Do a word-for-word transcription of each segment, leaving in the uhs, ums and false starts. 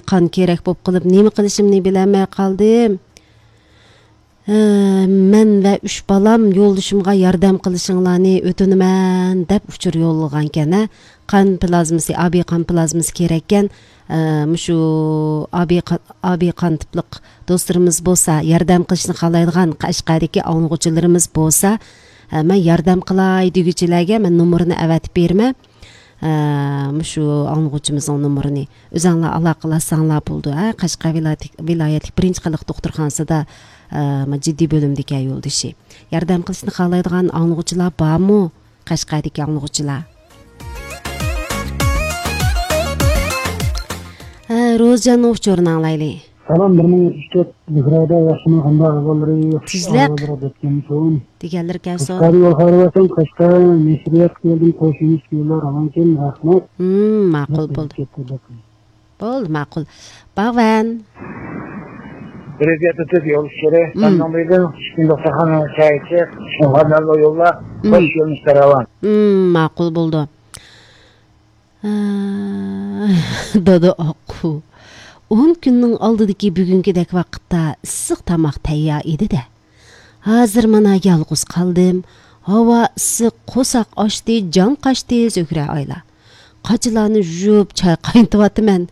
قان كېرەك بولۇپ قېلىپ، نېمە قىلىشىمنى بىلەلمەي قالدىم. ھە، مەن ۋە ئۈچ بالام يولدىشىمغا ياردەم قىلىشىڭلارنى ئۆتۈنىمەن، دەپ ئۇچۇر يوللىغانكەن، ھە. قان پلازمىسى، ئابىي قان پلازمىسى كېرەككەن. ئە، مۇشۇ ئابىي قان، ئابىي قان تىپلىق دوستلىرىمىز بولسا، ياردەم قىلىشنى خالايدىغان قەشقەردىكى ئاڭلىغۇچىلىرىمىز بولسا، ئە، مەن ياردەم قىلاي دېگۈچىلەرگە مەن نومۇرىنى ئەۋەتىپ بېرىمەن. ئە، مۇشۇ ئاڭلىغۇچىمىزنىڭ نومۇرىنى ئۆزۈڭلار ئالاقىلاشساڭلار بولىدۇ. ھە، قەشقەر ۋىلايەتلىك، ۋىلايەتلىك بىرىنچى خەلق دوختۇرخانىسىدا، ئە، جىددىي بۆلۈمدىكى يولدىشى. ياردەم قىلىشنى خالايدىغان ئاڭلىغۇچىلار بارمۇ؟ قەشقەردىكى ئاڭلىغۇچىلار. ھە، روزجاننىڭ ئۇچۇرىنى ئاڭلايلى. سالام، بىر مىڭ ئۈچ تۆت زۆھرەدە ياخشىمۇ، قانداق ئەھۋاللىرى؟ ياخشى تېزلەك. ئەھۋاللىرى دەپ كەلسۇن. دېگەنلىرى كەلسۇن. قەشقەر يول خەۋىرى بەرسەڭ، قەشقەر نەشرىياتقا كەلدىم، قوشۇلۇش يوللار ئامان ئىكەن، رەھمەت. ھىم، ماقۇل بولدى. كەتتى دەپ. بولدى، ماقۇل. باغۋەن. بىر يۈز يەتتە تۆت يول ئۇچۇرى، مم. سەندىن بىردىن، ئىككىنچى دوختۇرخانا چاي ئىچىپ، شۇڭغا مەلۇم يوللار، مم. خوش يۆنىلىشتە راۋان. مم، ماقۇل بولدى. ئە، دادا ئاققۇ. ئون كۈننىڭ ئالدىدىكى بۈگۈنكىدەك ۋاقىتتا ئىسسىق تاماق تەييار ئىدى-دە. ھازىر مانا يالغۇز قالدىم. ھاۋا ئىسسىق، قورساق ئاچتى، جان قاچتى، زۆھرە ئايلا. قاچىلارنى يۇيۇپ، چاي قاينىتىۋاتىمەن.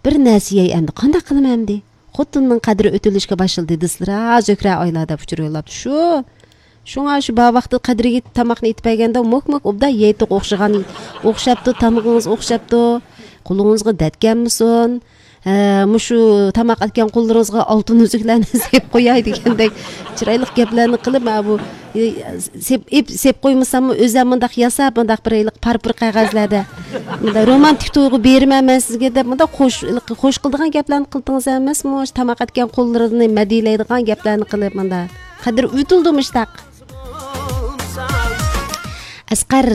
بىر نەرسە يەي ئەمدى، قانداق قىلىمەن ئەمدى؟ خوتۇننىڭ قەدرى ئۆتۈلۈشكە باشلىدى دېسىلىرا، زۆھرە ئايلا دەپ ئۇچۇر يوللاپتۇ. شۇ. شۇڭا شۇ بار ۋاقتىدا قەدرىگە يېتىپ تاماقنى ئېتىپ بەرگەندە، موك موك ئوبدان يەيتتۇق ئوخشىغان، ئوخشاپتۇ، تامىقىڭىز ئوخشاپتۇ. قولىڭىزغا دەرد كەلمىسۇن. ھە، مۇشۇ تاماق ئەتكەن قوللىرىڭىزغا ئالتۇن ئۈزۈكلەرنى سېلىپ قوياي دېگەندەك چىرايلىق گەپلەرنى قىلىپ، مانا بۇ، ئى، سېپ، ئېپ، سېپ قويمىساممۇ، ئۆزۈم مۇنداق ياساپ، مۇنداق بىر ھېلىقى پارپۇر قەغەزلەردە، مۇنداق رومانتىك تۇيغۇ بېرىمەن مەن سىزگە دەپ، مۇنداق خوش، ھېلىقى خوش قىلىدىغان گەپلەرنى قىلدىڭىز ئەمەسمۇ؟ مۇشۇ تاماق ئەتكەن قوللىرىنى مەدھىيەلەيدىغان گەپلەرنى قىلىپ، مۇنداق قەدرى ئۆتۈلدى مۇشتاق. ئەسقەر،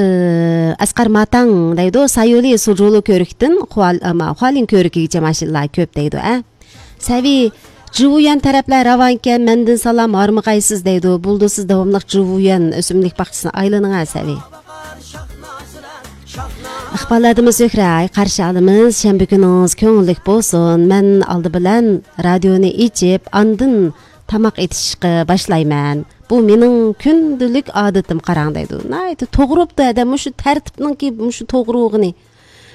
ئەسقەر ماتاڭ دەيدۇ، سايولى سۇجۇلۇ كۆرۈكتىن خۇال-، ئەما، خۇالىن كۆرۈكىگىچە ماشىنىلار كۆپ دەيدۇ، ئە. سەۋى، جىۋۇيۈەن تەرەپلەر راۋانكەن، مەندىن سالام، ھارمىغايسىز دەيدۇ. بولدى، سىز داۋاملىق جىۋۇيۈەن ئۆسۈملۈك باغچىسىنى ئايلىنىڭ، ھە، سەۋى. ئىقبال ئادىمى زۆھرە، قارشى ئالىمىز، شەنبە كۈنىڭىز كۆڭۈللۈك بولسۇن. مەن ئالدى بىلەن رادىيونى ئېچىپ، ئاندىن تاماق ئېتىشقا باشلايمەن. بۇ مېنىڭ كۈندىلىك ئادىتىم، قاراڭ دەيدۇ. ناھايىتى توغرا بوپتۇ ھەدە، مۇشۇ تەرتىپنىڭكى مۇشۇ توغرا بولغىنى.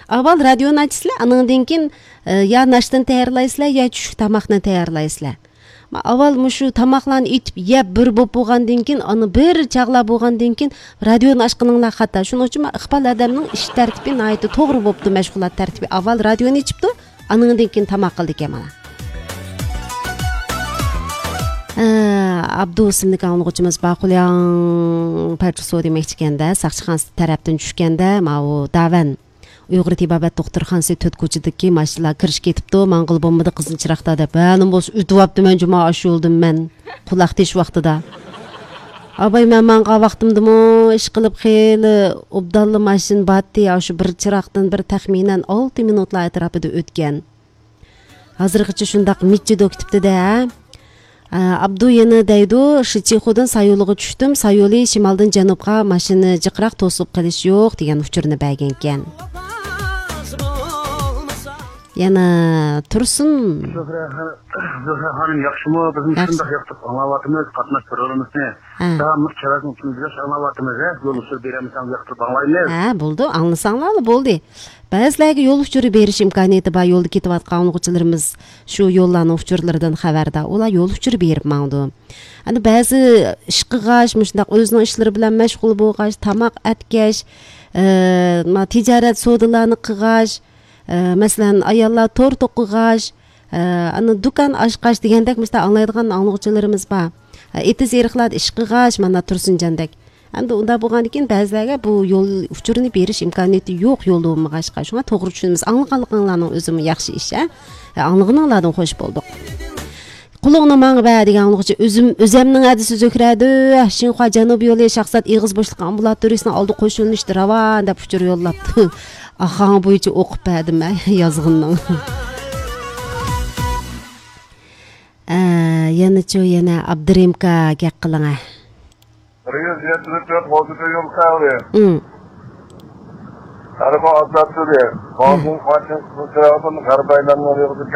ئاۋۋال رادىيونى ئاچىسىلەر، ئانىڭدىن كېيىن، ئە، يا ناشتىنى تەييارلايسىلەر، يا چۈشلۈك تاماقنى تەييارلايسىلەر. ما ئاۋۋال مۇشۇ تاماقلارنى ئېتىپ يەپ بىر بوپ بولغاندىن كېيىن، ئانا بىر چاغلار بولغاندىن كېيىن رادىيونى ئاچقىنىڭلار خاتا. شۇنىڭ ئۈچۈن ما ئىقبال ھەدەمنىڭ ئىش تەرتىپى ناھايىتى توغرا بوپتۇ، مەشغۇلات تەرتىپى. ئاۋۋال رادىيونى ئېچىپتۇ، ئانىڭدىن كېيىن تاماق قىلىدىكەن مانا. ئە، ئابدۇ ئىسىملىك ئاڭلىغۇچىمىز باقۇلياڭ پەرچۇ سو دېمەكچىكەندە، ساقچىخانىسى تەرەپتىن چۈشكەندە، ماۋۇ داۋەن ئۇيغۇر تېبابەت دوختۇرخانىسى تۆت كوچىدىكى ماشىنىلار كىرىشكە كېتىپتۇ، ماڭغىلى بولمىدى قىزىل چىراغدا دەپ. ھە، نېمە بولسا ئۆتۈۋاپتىمەن جۇما ئاشۇ يولدىن مەن، قۇلاق تېشىۋاقتىدا. ئاباي، مەن ماڭغان ۋاقتىمدىمۇ ئىشقىلىپ خېلى ئوبدانلا ماشىنا بارتتى، ئاشۇ بىر چىراغدىن بىر تەخمىنەن ئالتە مىنۇتلار ئەتراپىدا ئۆتكەن. ھازىرغىچە شۇنداق مىچچىدۇ كېتىپتىدە. ئابدۇ يەنە دەيدۇ، شىچىخۇدىن سايولىغا چۈشتۈم، سايولى شىمالدىن جەنۇبقا ماشىنا جىقراق توسۇپ قېلىش يوق دېگەن ئۇچۇرنى بەرگەنكەن. يەنە تۇرسۇن. زۆھرە خا-، زۆھرە خانىم ياخشىمۇ؟ بىزمۇ ياخشى. شۇنداق ياقتۇرۇپ ئاڭلاۋاتىمىز، قاتناش پروگراممىسىنى. ھە. داۋاملىق چىراغنىڭ ئۈستىدە ئاڭلاۋاتىمىز، ھە؟ يول ئۇچۇر بېرەلمىسەڭ ياقتۇرۇپ ئاڭلايمىز. ھە، بولدى، ئاڭلىساڭلارلا بولدى. بەزىلەرگە يول ئۇچۇرى بېرىش ئىمكانىيىتى بار، يولدا كېتىۋاتقان ئاڭلىغۇچىلىرىمىز شۇ يوللارنىڭ ئۇچۇرلىرىدىن خەۋەردار. ئۇلار يول ئۇچۇرى بېرىپ ماڭىدۇ. ئەنە بەزى ئىش قىلغاچ، مۇشۇنداق ئۆزىنىڭ ئىشلىرى بىلەن مەشغۇل بولغاچ، تاماق ئەتكەچ، ئە، ما، تىجارەت سودىلارنى قىلغاچ، ئە، مەسىلەن، ئاياللار تور توقۇغاچ، ئە، ئەنە دۇكان ئاچقاچ دېگەندەك مۇشۇنداق ئاڭلايدىغان ئاڭلىغۇچىلىرىمىز بار. ئە، ئېتىز ئېرىقلاردا ئىش قىلغاچ، مانا تۇرسۇنجاندەك. ئەمدى ئۇنداق بولغاندىكىن بەزىلەرگە بۇ يول ئۇچۇرىنى بېرىش ئىمكانىيىتى يوق، يولدا بولمىغاچقا. شۇڭا توغرا چۈشىنىمىز. ئاڭلىغانلىقىڭلارنىڭ ئۆزىمۇ ياخشى ئىش، ھە؟ ئاڭلىغىنىڭلاردىن خوش بولدۇق. قولۇڭنى ماڭا بەر دېگەن ئاڭلىغۇچى ئۆزۈم، ئۆزەمنىڭ ھەدىسى زۆھرەدۇ. شىنخۇا جەنۇب يولى شاھزات ئېغىز بوشلۇقى ئامبۇلاتورىيىسىنىڭ ئالدى قوشۇلۇشتا راۋان دەپ ئۇچۇر يوللاپتۇ. ئاخاڭ بويىچە ئوقۇپ بەردىم مەن يازغىنىنىڭ. ئە، يەنىچۇ، يەنە ئابدۇرېمكا گەپ قىلىڭە. بىر يۈز يەتتە يول خەۋىرى. ئۇم. ھەربا ئازاد تۇردى. بازىن قاچىن قىزىل چىراغدىن غەربىي ئايلانما يولىدىكى